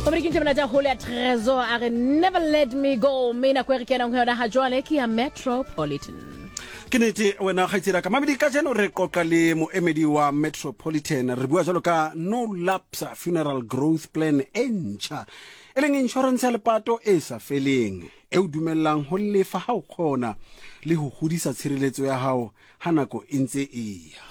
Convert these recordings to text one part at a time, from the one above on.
Ke ntse monate haholo ya Trezor a re never let me go mme nako e re kenang ho yona ha jwale ke ya Metropolitan. Ke nete wena kgaitsedi ka mabedi ka jeno re qoqa le moemedi wa Metropolitan re bua jalo ka no lapse funeral growth plan e ntšha e leng insurance ya lepato e sa feleng e o dumellang ho lefa ha o kgona le ho hodisa tshireletso ya hao ha nako e ntse e ya.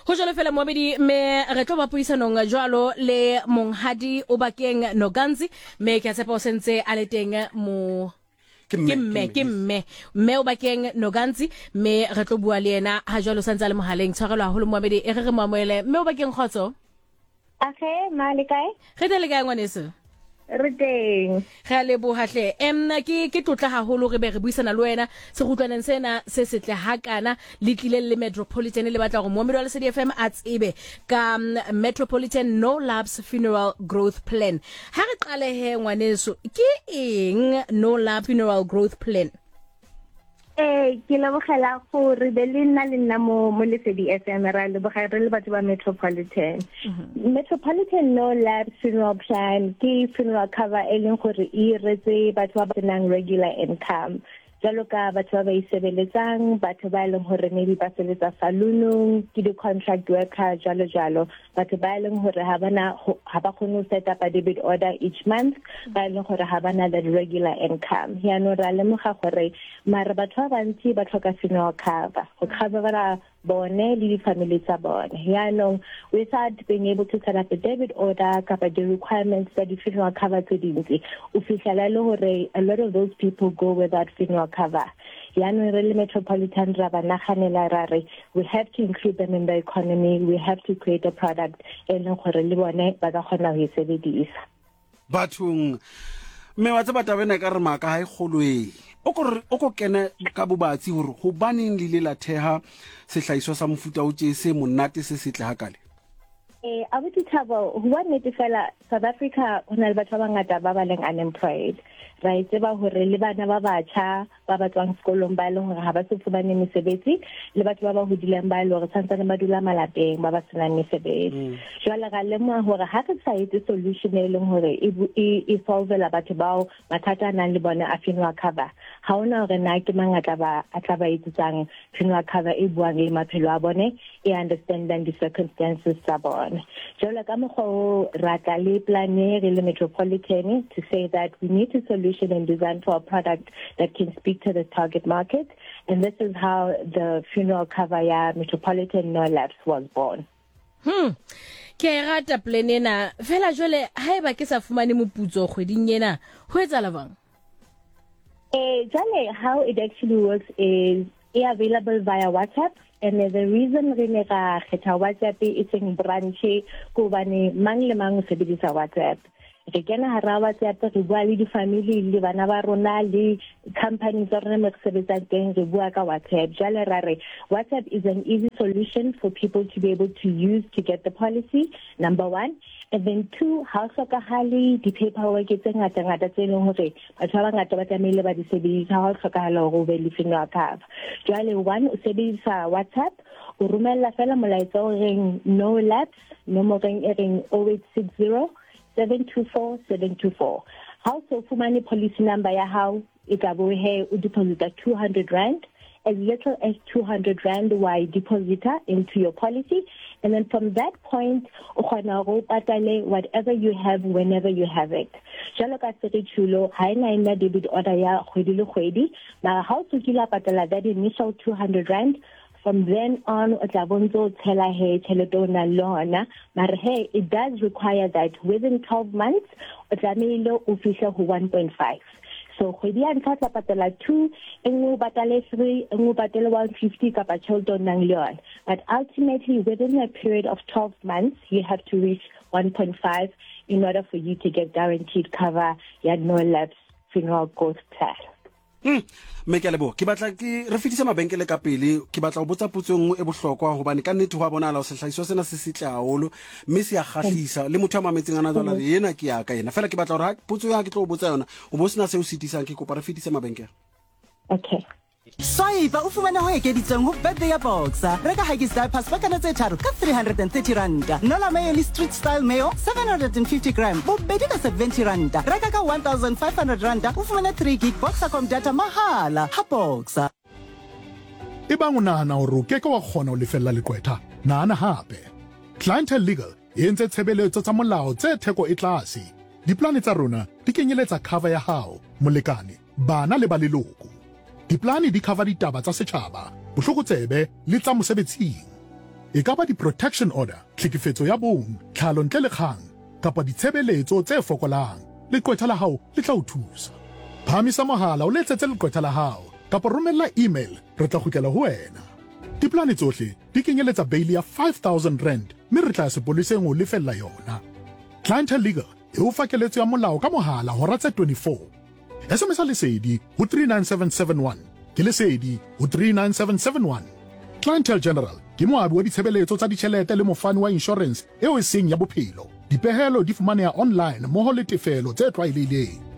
Ho jwalo fela moamedi me re tlo ba puisanong jwalo le monghadi o bakeng Noganzi me ke a tshepa o sentse a le teng mo Ke ke mme, mme ke mme mme o bakeng Noganzi me re tlo bua le yena ha jwalo santse a le mohaleng tshwarelo haholo moamedi e re re mo amohele mme o bakeng kgotso Age, ma le kae? Re teng le kae ngwaneso? Re teng. Re a leboha hle. Em ke ke tlotla haholo re be re buisana le wena sekgutlwaneng sena se setle hakana le tlileng le Metropolitan le batla hore moomedi wa Lesedi FM a tsebe ka mm, Metropolitan No Lapse Funeral Growth Plan. Ha re qale he ngwaneso, ke eng No Lapse Funeral Growth Plan? Ee, ke lebogela gore be le nna le nna mo mo Lesedi FM ra leboga re le batho ba Metropolitan. Mhm. Metropolitan No Lab Funeral Plan ke funeral cover e leng gore e iretse batho ba ba senang regular income. Jalo ka batho ba ba isebeletsang, batho ba e leng gore maybe ba sebetsa saloonong, ke di-contract worker, jalo jalo. Batho ba e leng gore ha bana ha ba kgone go set up a debit order each month, ba e leng gore ha bana that regular income. Yaanong ra lemoga gore mare batho ba bantsi ba tlhoka funeral cover go covera bone le di-family tsa bone. Yaanong without being able to set up a debit order kapa di-requirements tsa di-funeral cover tse dintsi, o fitlhela e le gore a lot of those people go without funeral cover. Yaanong re le Metropolitan ra ba naganela ra re we have to include them in the economy, we have to create a product e leng gore le bone ba ka kgona go e sebedisa. Bathong mme wa tseba taba ena e ka re maaka ga e kgoloe o ko o ko kene ka bobatsi gore gobaneng le ile la theha sehlahiswa sa mofuta o tše se monate se setle hakale. Eh, abuti Thabo, ho bua nnete fela, South Africa ho na le batho ba bangata ba ba leng unemployed. Ra e tseba hore le bana ba batjha ba ba tswang sekolong ba e leng hore ha ba so fumane mesebetsi, le batho ba ba hodileng ba e leng hore santsane ba dula malapeng ba ba senang mesebetsi. Mm. Jwale ra lemoha hore ha re sa etse solution e leng hore e, e, e solvela batho bao mathata a nang le bone a funeral cover, ha hona hore na ke mang a tla ba a tla ba etsetsang funeral cover e buang le maphelo a bone e understandang di-circumstances tsa bone. Jalo ka mokgwa o ra tla le plan e re le Metropolitan to say that we need a solution and design for a product that can speak to the target market, and this is how the funeral cover ya Metropolitan No Lapse was born. Hmm. Ke a e rata plan ena. Fela jwale haeba ke sa fumane moputso kgweding ena, ho etsahala jwang? Eh, jwale how it actually works is e available via WhatsApp, and the reason re ne ra kgetha WhatsApp e seng branch ke hobane mang le mang o sebedisa WhatsApp. Re kena hara WhatsApp, re bua le di-family le bana ba rona le company tsa rona mo re sebetsang teng, re bua ka WhatsApp. Jwale ra re WhatsApp is an easy solution for people to be able to use to get the policy, number one. And then two, ha o hlokahale di-paperwork tse ngata-ngata tse leng hore batho ba bangata ba tlamehile ba di sebedisa ha o hlokahala hore o be le funeral cover. Jwale one, o sebedisa WhatsApp, o romella fela molaetsa o reng no lapse nomoreng e reng 0860 724 724. Ha o so fumane policy number ya hao, e tla bo he o deposita 200 rand, as little as 200 rand wa e deposita into your policy, and then from that point o kgona go patale whatever you have whenever you have it. Jalo ka se re tšhulo, ha ena e nna debit order ya kgwedi le kgwedi, mara ha o tsokile patala that initial 200 rand, from then on o tla bo ntse o tshela he tšhelete o nang le hona. Mara he it does require that within 12 months o tlamehile o fihle ho 1.5. So kgwedi ya ntlha o tla patala 2, e nngwe o patale 3, e nngwe o patale 150 kapa tšhelete o nang le yona. But ultimately within a period of 12 months you have to reach 1.5 in order for you to get guaranteed cover ya no lapse funeral growth plan. Mme ke a leboha. Ke batla ke re fetise mabenkele ka pele. Ke batla go botsa potso e nngwe e bohlokwa gobane ka nnete go a bonala gore sehlahiswa sena se setle haholo mme se a kgahlisa le motho a mametseng a na jwala re ena ke ya ka ena. Fela ke batla gore ha potso ya ke tlo go botsa yona o bo sena se o sitisang, ke kopa re fetise mabenkele. Okay. Swipe o fumane ho ekeditsweng ho birthday ya Boxer. Reka Huggies diapers pakana tse tharo ka R330. Nola Mayo le Street Style Mayo 750 gram bobedi ka R70. Reka ka R1500 o fumane 3 gig Boxercom data mahala ha Boxer. Ebang o nahana hore o ke ke wa kgona ho lefella leqwetha, nahana hape. Clientele Legal e entse tshebeletso tsa molao tse theko e tlase. Dipolane tsa rona di kenyeletsa cover ya hao, molekane, bana le ba leloko. Dipolane di cover ditaba tsa setjhaba, bohlokotsebe le tsa mosebetsing. E ka ba di-protection order, tlhekefetso ya bong, tlhalo ntle le kgang, kapa ditshebeletso tse fokolang, leqwetha la hao le tla o thusa. Phahamisa mohala o letsetse leqwetha la hao kapa romella email re tla kgutlela ho wena. Dipolane tsohle di kenyeletsa beili ya R5000 mme re tla ya sepoleseng ho o lefella yona. Clientele Legal e o fa keletso ya molao ka mohala hora tse 24. SMS-a Lesedi ho 39771. Ke Lesedi ho 39771. Clientele General ke moabi wa ditshebeletso tsa ditjhelete le mofani wa inshorense eo e seng ya bophelo. Dipehelo di fumaneha online mmoho le tefelo tse tlwaelehileng.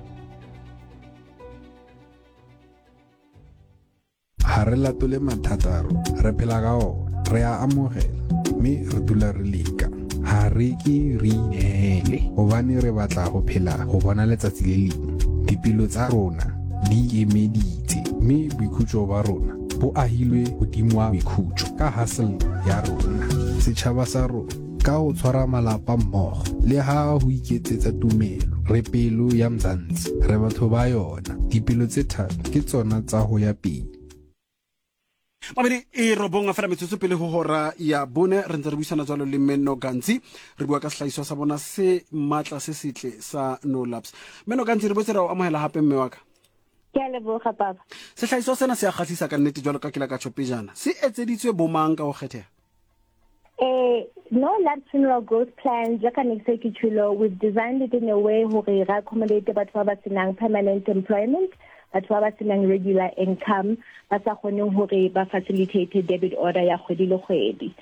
Ha re latole mathata a rona, re phela ka ona, re a amogela mme re dula re leka. Ha re ke re ineele hobane re batla ho phela ho bona letsatsi le leng. Dipelo tsa rona di ikemeditse mme boikhutso ba rona bo ahilwe hodima boikhutso ka hustle ya rona. Setjhaba sa rona ka ho tshwara malapa mmogo le ha ho iketsetsa tumelo. Re pelo ya Mzansi, re batho ba yona. Dipelo tse thata ke tsona tsa ho ya pele. Mabedi e robong fela metsotso pele ho hora ya bone re ntse re buisana jalo le Menno Gantsi re bua ka sehlahiswa sa bona se matla se setle sa No Lapse. Menno Gantsi re boetse ra o amohela hape mme wa ka. Ke a leboga papa. Sehlahiswa sena se a kgahlisa ka nnete jwalo ka ke la ka tjho pejana. Se etseditswe bomang ka ho kgetheha? Eh, no Lapse Funeral Growth Plan, jaaka ne ke se ke tjholo, we've designed it in a way hore re accommodate batho ba ba senang permanent employment, batho ba ba senang regular income, ba sa kgoneng hore ba facilitate debit order ya kgwedi le kgwedi.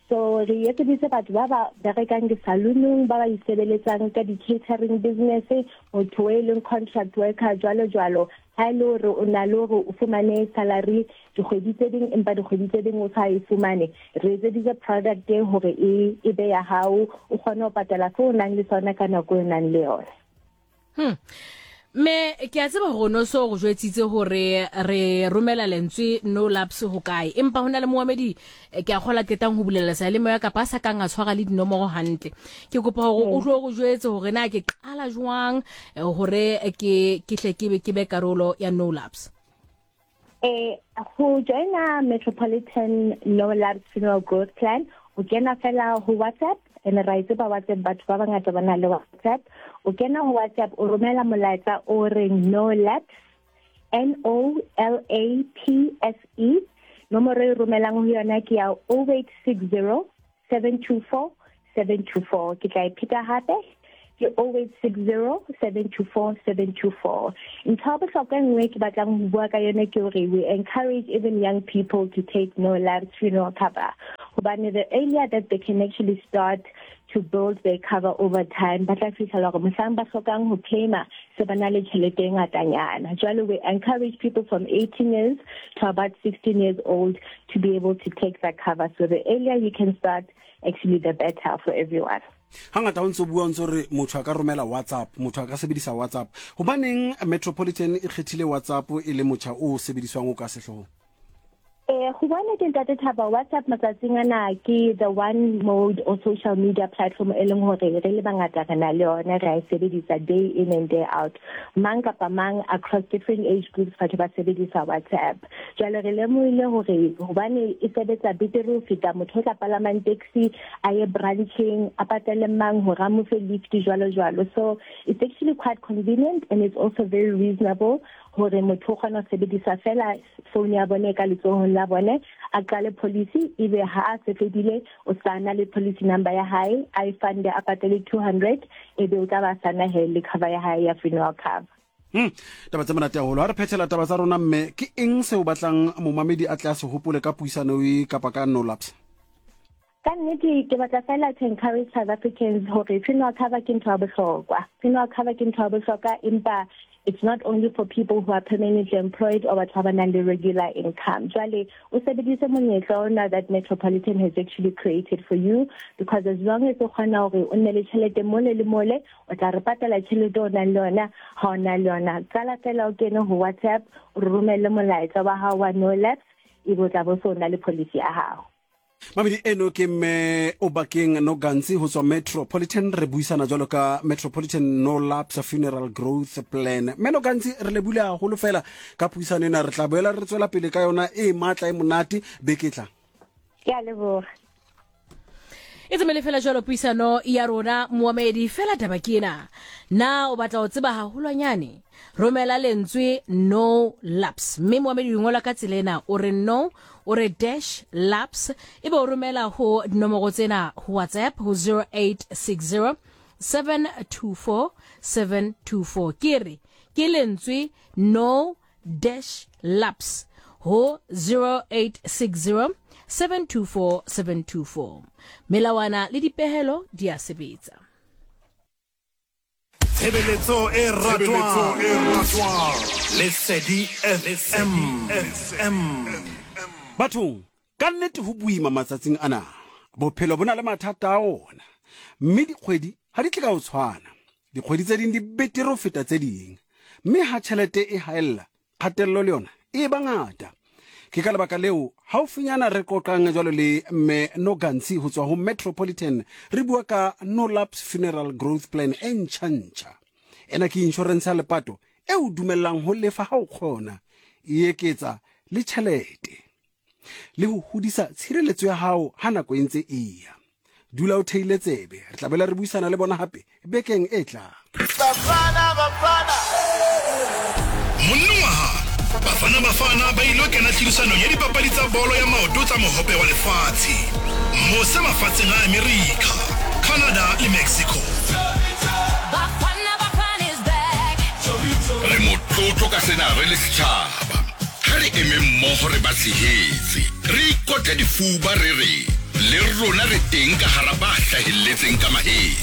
So re etseditse batho ba ba berekang di-saloonong, ba ba isebeletsang ka di-catering business, motho e leng contract worker, jwalo jwalo. Ha e le hore o na le hore o fumane salary dikgwedi tse ding empa dikgwedi tse ding o sa e fumane, re etseditse product e hore e e be ya hao, o kgone ho patala seo o nang le sona ka nako e o nang le yona. Me ke a tseba hore o no so go jwetsitse hore re romela lentswe no lapse ho kae, empa ho na le moamedi ke a kgola qetang ho bulela seyalemoya kapa a sa kang a tshwara le dinomoro hantle. Ke kopa hore o tlo go jwetse hore na ke qala jwang hore ke ke hle ke be ke be karolo ya no lapse. Go joina Metropolitan No Lapse Funeral Growth Plan, o kena fela ho WhatsApp, and ra e tseba WhatsApp, batho ba bangata ba na le WhatsApp. O kena ho WhatsApp, o romela molaetsa o reng No Lapse, N O L A P S E. Nomoro e romelang ho yona ke ya 0860 724 724. Ke tla e pheta hape, ke 0860 724 724. Ntho ya bohlokwa e nngwe ke batlang ho bua ka yone ke hore we encourage even young people to take No Lapse funeral cover, hobane the earlier that they can actually start to build their cover over time, ba tla fihlela hore mohlang ba hlokang ho claima se ba na le tjhelete e ngatanyana. Jwale we encourage people from 18 years to about 16 years old to be able to take that cover. So the earlier you can start, actually the better for everyone. Hangata o ntse o bua o ntse re motho a ka romela WhatsApp, motho a ka sebedisa WhatsApp. Hobaneng Metropolitan e kgethile WhatsApp e le motjha o sebediswang o ka sehloohong? Go bona ke Ntate Thaba, WhatsApp matsatsing ana ke the one mode or social media platform e leng hore re le bangata re na le yona, re a e sebedisa day in and day out. Mang kapa mang across different age groups batho ba sebedisa WhatsApp. Jwale re lemohile hore hobane e sebetsa betere ho feta motho o tla palamang taxi a ye brancheng a patale mang hore a mo fe lift jwalo jwalo. So it's actually quite convenient and it's also very reasonable hore motho o kgona ho sebedisa fela phone ya bone ka letsohong la bone, a qale policy, ebe ha a se fedile o sa na le policy number ya hae, a e funde, a patale 200, ebe o tla ba sana he le cover ya hae ya funeral cover. Taba tse monate haholo. Ha re phethela taba tsa rona mme, ke eng seo batlang momamedi a tle a se hopole ka puisano e kapa ka No Lapse? Ka nnete ke batla fela to encourage South Africans hore funeral cover ke ntho ya bohlokwa. Funeral cover ke ntho ya bohlokwa, empa It's not only for people who are permanently employed or batho ba ba nang le regular income. Jwale o sebedise monyetla ona that Metropolitan has actually created for you, because as long as o kgona hore o nne le tjhelete mole le mole, o tla re patala tjhelete o nang le yona ha o na le yona. Qala fela o kene ho WhatsApp, o re romelle molaetsa wa hao wa no lapse, ebe o tla bo so na le policy ya hao. Mamedi eno ke mme Obakeng Nogantsi ho tswa Metropolitan. Re buisana jwalo ka Metropolitan No Lapse Funeral Growth Plan. Mme Nogantsi, re lebule haholo fela ka puisano ena. Re tla boela re tswela pele ka yona e matla e monate beke e tlang. Ke a leboga. E tsemele fela jwalo puisano ya rona moamedi. Fela taba ke ena, na o batla ho tseba haholwanyane? Romela lentswe no lapse, mme moamedi o ngola ka tsela ena, o re no, o re dash lapse, ebe o romela ho dinomoro tsena ho WhatsApp ho 0860 724 724. Ke re ke lentswe no dash lapse ho 0860 724 724. Melawana le dipehelo di a sebetsa. Tshebeletso e ratwang Lesedi FM. Bathong, ka nnete ho boima matsatsing ana. Bophelo bo na le mathata a ona, mme dikgwedi ha di tle ka ho tshwana. Dikgwedi tse ding di betere ho feta tse ding, mme ha tjhelete e haella, kgatello le yona e ba ngata. Ke ka lebaka leo haufinyana re qoqang jwalo le Mme Nogantsi ho tswa ho Metropolitan, re bua ka No Lapse Funeral Growth Plan e ntjha-ntjha. Ena ke inshorense ya lepato e o dumellang ho lefa ha o kgona, e eketsa le tjhelete le ho hodisa tshireletso ya hao ha nako e ntse e ya. Dula o theile tsebe, re tla boela re buisana le bona hape bekeng e tlang. Bafana Bafana! Monongwaha, Bafana Bafana ba ilo kena tlhodisanong ya dipapadi tsa bolo ya maoto tsa Mohope wa Lefatshe mose mafatsheng a Amerika, Canada le Mexico. Re motlotlo ka sena re le setjhaba. Ha re eme mmoho re ba tshehetse, re ikotle difuba re re le rona re teng ka hara ba hlahelletseng ka mahetla.